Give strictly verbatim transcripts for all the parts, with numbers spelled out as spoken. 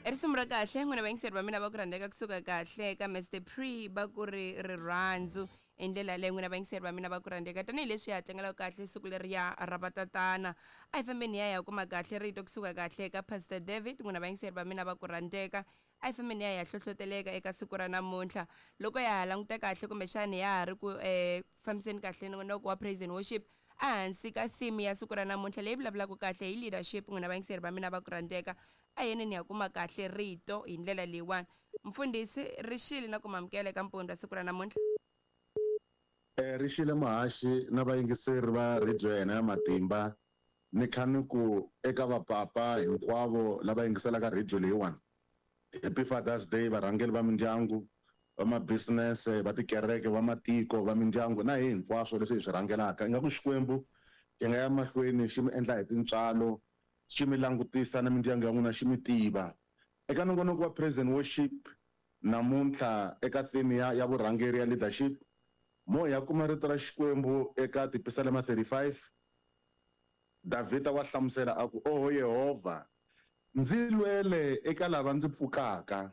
I risimu ra kahle n'wina vayingiseri va mina va ku rhandzeka kusuka kahle ka Mister Pre va ku ri rirhandzu hi ndlela yaleyo n'wina vayingiseri va mina va ku rhandzeka tanihileswi hi ha tlangelaka kahle siku leriya ra vatatana a hi fambeni hi ya hi ya kuma kahle rito kusuka kahle ka Pastor David n'wina vayingiseri va mina va ku rhandzeka a hi fambeni hi ya hi ya hlohloteleka eka siku ra namuntlha loko ya ha languta kahle kumbexani ya ha ri ku um fambiseni kahle nongonoko wa praise and worship ehansi ka theme ya siku ra namuntlha leyi vulavulaka kahle hi leadership n'wina vayingiseri va mina va ku rhandzeka a yeneni ya kuma kahle rito hi ndlela leyiwani mfundhisi ri xile na ku mamukela eka mpundzu wa siku ra namuntlha. Eh ri xile muhaxi na vayingiseri va radio ya hina ya matimba ni kha ni ku eka vapapa hinkwavo lava yingiselaka radio leyiwani Happy Father's Day varhangeri va mindyangu va ma-business va tikereke va matiko va mindyangu na hi hinkwaswo leswi hi swi rhangelaka ingaku Xikwembu xi nga ya mahlweni xi mi endla hi tintswalo xi mi langutisa na mindyangu ya n'wina xi mi tiva eka nongonoko wa praise and worship namuntlha eka theme ya ya vurhangeri ya leadership mo hi ya kuma rito ra Xikwembu eka Tipisalema thirty-five Davhida wa hlamusela a ku oho Yehovha ndzi lwele eka lava ndzi pfukaka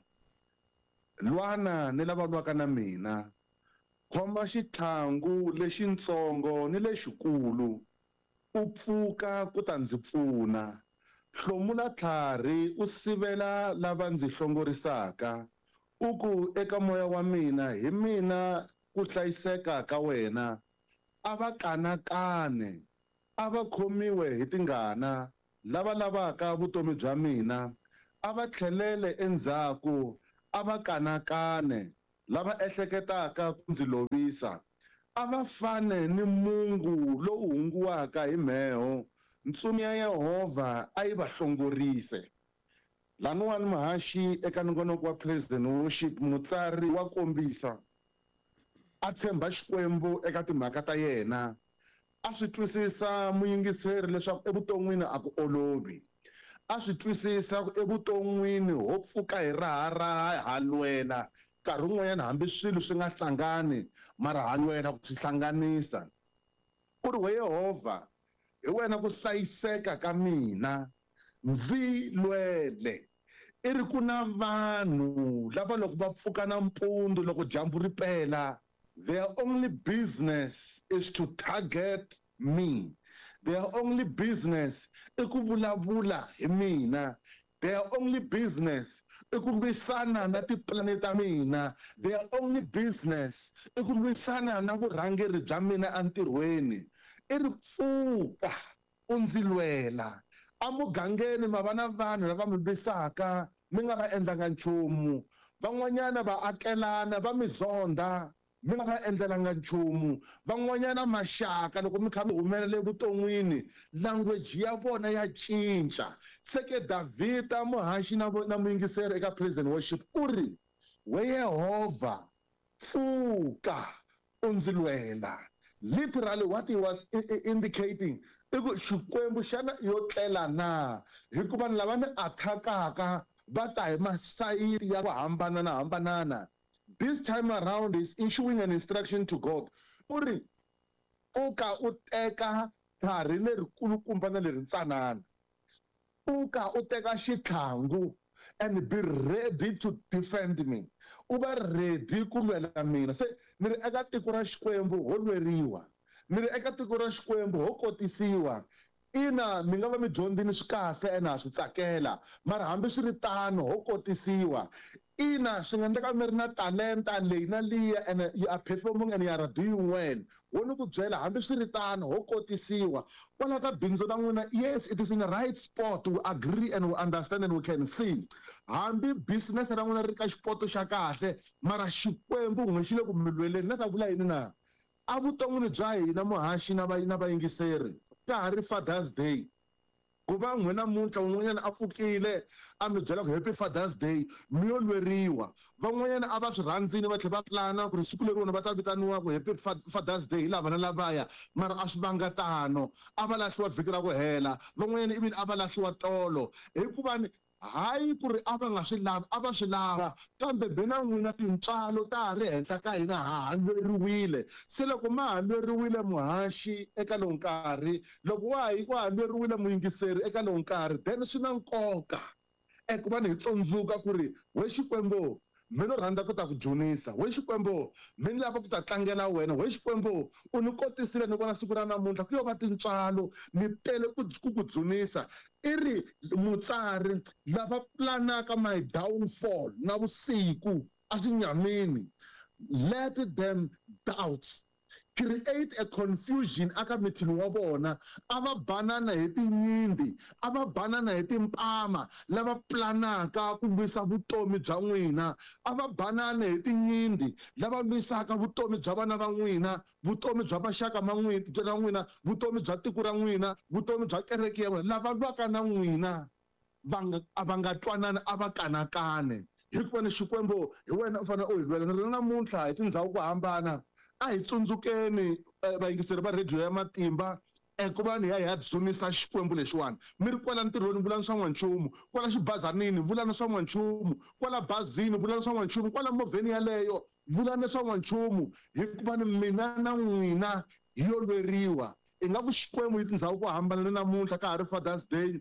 lwana ni lava lwaka na mina khoma xitlhangu lexintsongo ni lexikulu u pfuka ku ta ndzi pfuna hlomula tlhari u sivela lava ndzi hlongorisaka u ku eka moya wa mina hi mina ku hlayiseka ka wena a va kanakane a va khomiwe hi tingana lava lavaka vutomi bya mina a va tlhelele endzhaku a va kanakane lava ehleketaka ku ndzi lovisa a va fane ni mungu lowu hunguwaka hi mheho ntsumi ya Yehovha a yi va hlongorise. Laniwani muhaxi eka nongonoko wa praise and worship mutsari wa kombisa a tshemba Xikwembu eka timhaka ta yena a swi twisisa muyingiseri leswaku evuton'wini a ku olovi a swi twisisa ku evuton'wini ho pfuka hi raharaha ha lwela nkarhi wun'wanyana hambi swilo swi nga hlangani mara ha lwela ku swi hlanganisa u ri we Yehovha hi wena ku hlayiseka ka mina ndzi lwele i ri ku na vanhu lava loko va pfuka nampundzu loko dyambu ri pela their only business is to target me their only business i ku vulavula hi mina their only business i ku lwisana na tipulani ta mina their only business i ku lwisana na vurhangeri bya mina entirhweni i ri pfuka u ndzi lwela emugangeni ma va na vanhu lava mi lwisaka mi nga va endlanga nchumu van'wanyana va akelana va mi zonda mi nga va endlelanga nchumu van'wanyana maxaka loko mi kha mi humelela evuton'wini language ya vona ya cinca se ke Davhida muhaxi na na muyingiseri eka praise and worship u ri we Yehovha pfuka u ndzi lwela literally what he was indicating i ku Xikwembu xana yo tlela na hikuva ni lava ni attackaka va ta hi masayiti ya ku hambanana hambanana. This time around is issuing an instruction to God. U ri pfuka u teka tlhari lerikulukumba na leri ntsanana pfuka u teka xitlhangu and be ready to defend me u va ready ku lwela mina se ni ri eka tiko ra Xikwembu ho lweriwa ni ri eka tiko ra Xikwembu ho kotisiwa ina mi nga va mi dyondzini swi kahle ene ha swi tsakela mara hambi swi ri tano ho kotisiwa ina swi nga endleka mi ri na talenta leyi na liya and you are performing and you are doing well wo ni ku byela hambi swi ri tano ho kotisiwa kwala ka bindzu ra n'wina yes it is in the right spot we agree and we understand and we can see hambi business ra n'wina ri ka xipoto xa kahle mara Xikwembu n'we xi le ku mi lweleni na ta vula yini na evuton'wini bya hina muhaxi na va na vayingiseri ka ha ri Father's Day ku va n'wina namuntlha un'wanyana a pfukile a mi byela ku happy Father's Day mi yo lweriwa van'wanyana a va swi rhandzini va tlhela va plana ku ri siku leri vona va ta vitaniwa ku happy Father's Day hi lava na lavaya mara a swi vanga tano a va lahliwa vhiki ra ku hela van'wanyana ivile a va lahliwa tolo hikuva ni hayi ku ri a va nga swi lavi a va swi lava kambe bina n'wina tintswalo ta ha ri henhla ka hina ha ha lweriwile se loko ma ha lweriwile muhaxi eka lowu nkarhi loko wa ha wa ha lweriwile muyingiseri eka lowu nkarhi then swi na nkoka Eku va ni hi tsundzuka ku ri we Xikwembu mi no rhandza ku ta ku dzunisa, we Xikwembu mi ni lava ku ta tlangela wena, we Xikwembu u ni kotisile ni vona siku ra namuntlha ku yo va tintswalo ni tele ku ku ku dzunisa. I ri mutsari lava planaka my downfall na vusiku a xinyamini, let them doubts create a confusion aka mithini wa vona, a va banana hi tinyindi, a va banana hi timpama lava planaka ku lwisa vutomi bya n'wina, a va banana hi tinyindi lava lwisaka vutomi bya vana va n'wina, vutomi bya maxaka ma n'wina, n'wina, vutomi bya tiko ra n'wina, vutomi bya kereke ya n'wina, lava lwaka na n'wina va nga a va nga twanani, a va kanakane. Hikuva ni Xikwembu hi wena u fanele u hi lwela. Ni ri namuntlha hi tindhawu ku hambana, a hi tsundzukeni vayingiseri va radio ya Matimba eku va ni ya hi ya dzunisa Xikwembu lexiwani. Mi ri kwala ntirhweni vulani swa n'wanchumu, kwala xibazanini vulani swa n'wanchumu, kwala bazini vulani swa n'wanchumu, kwala movheni yaleyo vulani swa n'wanchumu, hikuva ni mina na n'wina hi yo lweriwa. Ingaku Xikwembu hi tindhawu ku hambana ni namuntlha ka ha ri Father's Day,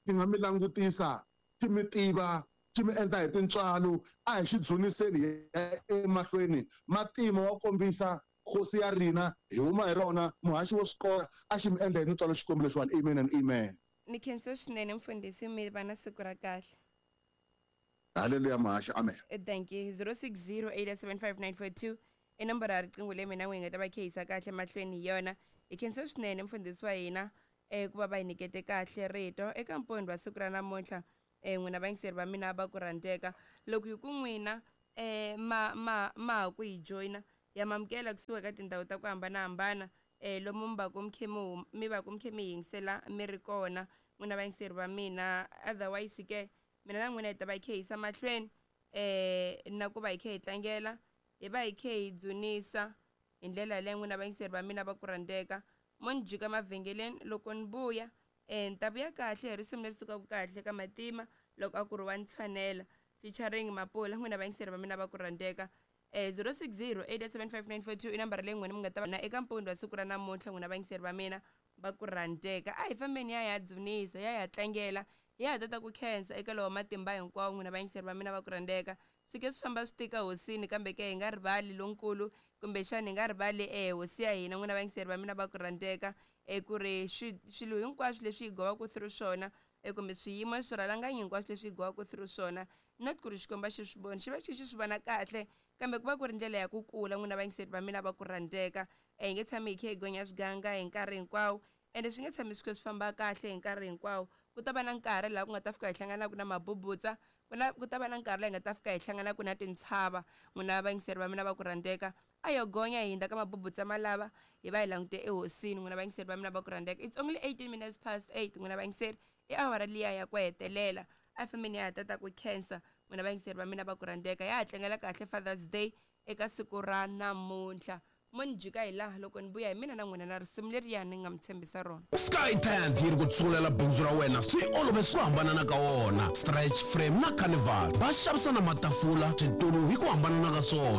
ti nga mi langutisa ti mi tiva ti mi endla hi tintswalo. A hi xi dzuniseni hi emahlweni. Matima wa kombisa hosi ya rina hi huma hi rona, muhaxi wo swi kota a xi mi endla hi tintswalo Xikwembu lexiwani. Amen and amen. Ni khensa swinene mfundhisi, mi va na siku ra kahle. Haleluya muhaxi, amen. Thank you. zero six zero eight seven five nine four two i nomboro ya riqingho leyi mina n'wi hi nga ta va khehisa kahle mahlweni hi yona. Hi khensa swinene mfundhisi wa hina ku va va hi nyikete kahle rito eka mpondho wa siku ra namuntlha. Eh n'wina vayingiseri va mina va ku rhandzeka, loko hi ku n'wina eh ma ma ma ha ku hi joyina ya mamukela kusuka ka tindhawu ta ku hambanahambana eh lomu mi va ku mi khe mi mi va ku mi khe mi yingisela mi ri kona n'wina vayingiseri va mina. Otherwise ke mina na n'wina hi ta va hi khe hi yisa mahlweni eh na ku va hi khe hi tlangela, hi va hi khe hi dzunisa hi ndlela leyi n'wina vayingiseri va mina va ku rhandzeka. Mo ni jika mavhengeleni loko ni vuya eh ni ta vuya kahle hi risimu leri sukaka kahle ka Matima loko a ku ri wa Ntshwanela featuring Mapula. N'wina vayingiseri va mina va ku rhandzeka. Eh zero six zero eight seven five nine four two i nambara leyi n'wina mi nga ta va na eka mpundzu wa siku ra namuntlha. N'wina vayingiseri va mina va ku rhandzeka, a hi fambeni ya ya dzunisa, ya ya tlangela, ya ha tata ku khensa eka lowa matimba hinkwawo. N'wina vayingiseri va mina va ku rhandzeka, swi ke swi famba swi tika hosini, kambe ke hi nga rivali lonkulu, kumbexana hi nga rivali eh hosi ya hina. N'wina vayingiseri va mina va ku rhandzeka, eh ku ri swilo hinkwaswo leswi hi gowaka through swona, eh kumbe swiyimo swirhalanganyi hinkwaswo leswi hi gowaka through swona, not ku ri Xikwembu a xi swi voni, xi va xi xi swi vona kahle, kambe ku va ku ri ndlela ya ku kula. N'wina vayingiseri va mina va ku rhandzeka, eh hi nge tshami hi khe hi gonya swiganga hi nkarhi hinkwawo, ende swi nge tshami swi khe swi famba kahle hi nkarhi hinkwawo. Ku ta va na nkarhi laha ku nga ta fika hi hlanganaka na mabubutsa, ku na ku ta va na nkarhi laha hi nga ta fika hi hlanganaka na tintshava. N'wina vayingiseri va mina va ku rhandzeka, a yo gonya hi hundza ka mabubutsa malava hi va hi langute ehosini. N'wina vayingiseri va mina va ku rhandzeka, it's only eighteen minutes past eight. N'wina vayingiseri, i awara liya ya ku hetelela a fambeni ya ha tata ku khensa. N'wina vayingiseri va mina va ku rhandzeka, ya ha tlangela kahle Father's Day eka siku ra namuntlha. Mo ni jika hi laha loko ni vuya hi mina na n'wina na risimu leriya ni nga mi tshembisa rona. Sky Tent yi ri ku tsungulela bindzu ra wena swi olove swi hambanana ka wona. Stretch frame na carnival va xavisa na matafula, switulu hi ku hambanana ka swona.